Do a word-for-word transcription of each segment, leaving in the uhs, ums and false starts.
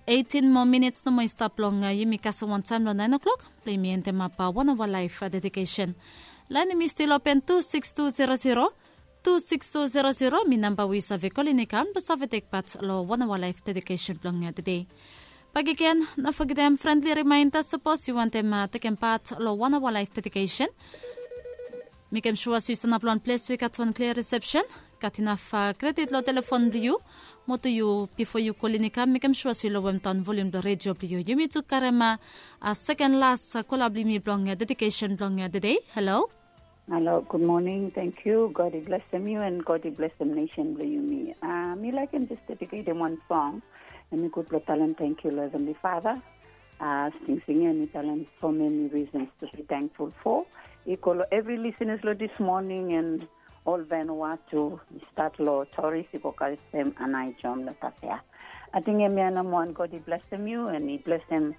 Eitin moa minits nomo i stap long yumi kasem wantaem long naen o'klok blong yumi endemap wan aoa laef dedikesen. Laen yumi stil open tu sikis tu zero zero, tu sikis tu zero zero mi namba we yu save kolin i kam blong save tekpat long wan aoa laef dedikesen blong tede. Bakegen, no fogetem frendli rimaenda, sapos yu wantem tekempat long wan aoa laef dedikesen, mekem sua se yu stanap long wan ples we i gat wan klia risepsen, gat inaf kredit long telefon blong yu, mo tu yu, bifo yu kolin i kam, mekem sua se yu lowemdaon volium blong redio blong yu. Yumi tu karem a seken las kola blong yumi blong dedikesen blong tede. Halo. Halo, gud moning. Tenkyu. God i blesem yu and God i blesem nesen blong yumi. Mi laekem jes dediketem wan song. Em i gud blong talem tenkyu long Heavenly Father. Singsing ya em i talem so many reasons to be thankful for. I go long evri listeners long this morning and ol Vanuatu, i stat long Torres i go kasem Aneityum long Tafea. Ating hemia namba wan. God i blesem yu and i blesem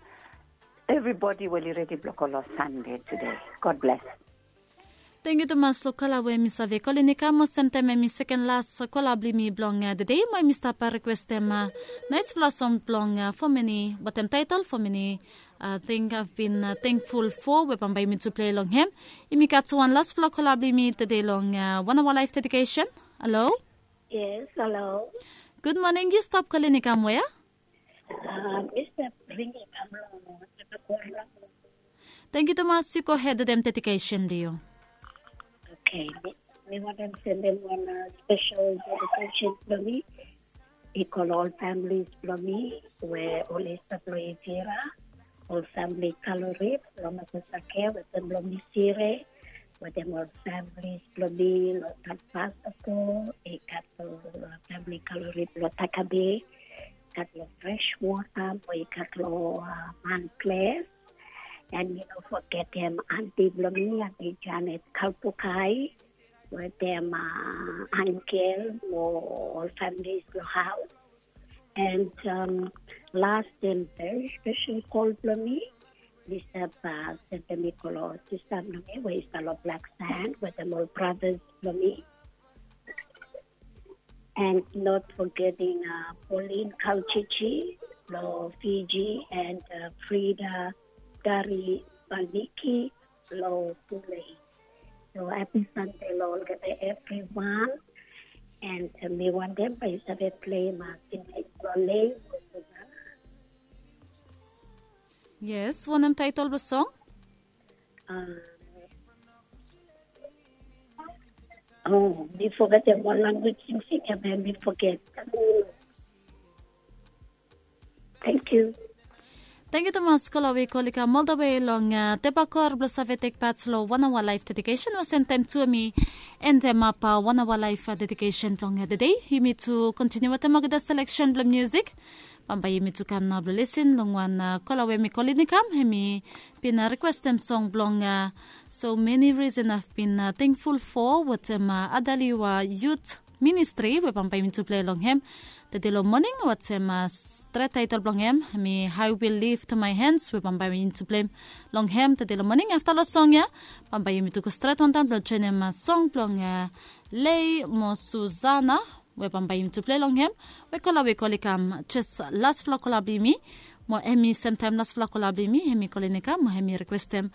evribodi we oli redi blong go long Sande tede. God bless. Tenkyu tumas long kola we mi save kolin i kam olsem taem em i seken las kola blong yumi blong tede, mo yumi stap rikwestem naesfala song blong fo meni, wetem taetol fo meni, ting I've been thankful for, we bambae yumi tu plei long hem. Yumi gat wan lasfala kola blong yumi tede long wan aoa laef dedikesen. Halo. Yes, halo. Gud moning, yu stap kolin i kam wea? Mista Prince i kam long Tepakor. Tenkyu tumas, yu gohed wetem dedikesen blong yu. Okei, mi wantem sendem wan spesel dedikesen blong mi i go long ol familis blong mi we oli stap long Ivira, ol famili Kalorip long Makosake, wetem long Misire, wetem ol familis blong mi long Tanpasako, i gat ol famili Kalorip long Takabe, gat long Freshwater, mo i gat long Manples. And mi no fogetem anti blong mi, Anti Janet Kalpukai, wetem Angel mo ol familis long haos. And las and very spesel kol blong mi, mi stap sendem i go long sista blong mi we i stap long Black Sand wetem ol bratas blong mi. And not forgetting Pauline Kalchichi long Fiji and Frida Dari Balniki long Pule. So hapi Sande long olgeta evriwan. And mi wantem bae yu save pleim song blong Lei Mosuzana. Yes, wanem taetol blong song? O, mi fogetem wan language singsing ya, bae mi foget. Tenkyu. Tenkyu tumas kola we i kol i kam oldawe long Tepakor blong save tekpat long wan aoa laef dedikesen, olsem taem tu mi endemap wan aoa laef dedikesen blong tede. Yumi tu kontiniu wetem olgeta seleksen blong musik. Bambae yumi tu kam nao blong lisin long wan kola we mi kolin i kam, hem i bin rikwestem song blong So Many Reason I've Been Thankful For wetem Adaliwa Youth Ministry we bambae yumi tu plei long hem tede long moning, wetem stret taetol blong hem hem i I Will Lift My Hands we bambae yumi tu pleim long hem tede long moning. Afta long song ya bambae yumi tu go stret wantaem blong joenem song blong Lei mo Susana we bambae yumi tu plei long hem, we kola we i kol i kam jes lasfala kola blong yumi, mo hem i semtaem lasfala kola blong yumi, hem i kolin i kam mo hem i rikwestem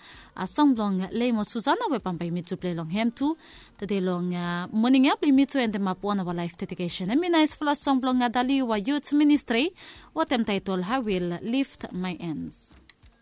song blong Lei mo Susana we bambae yumi tu plei long hem tu tede long moning ya blong yumi tu endemap wan aoa laef dedikesen. Hem i naesfala song blong Adaliwa Youth Ministry wetem taetol I Will Lift My Hands.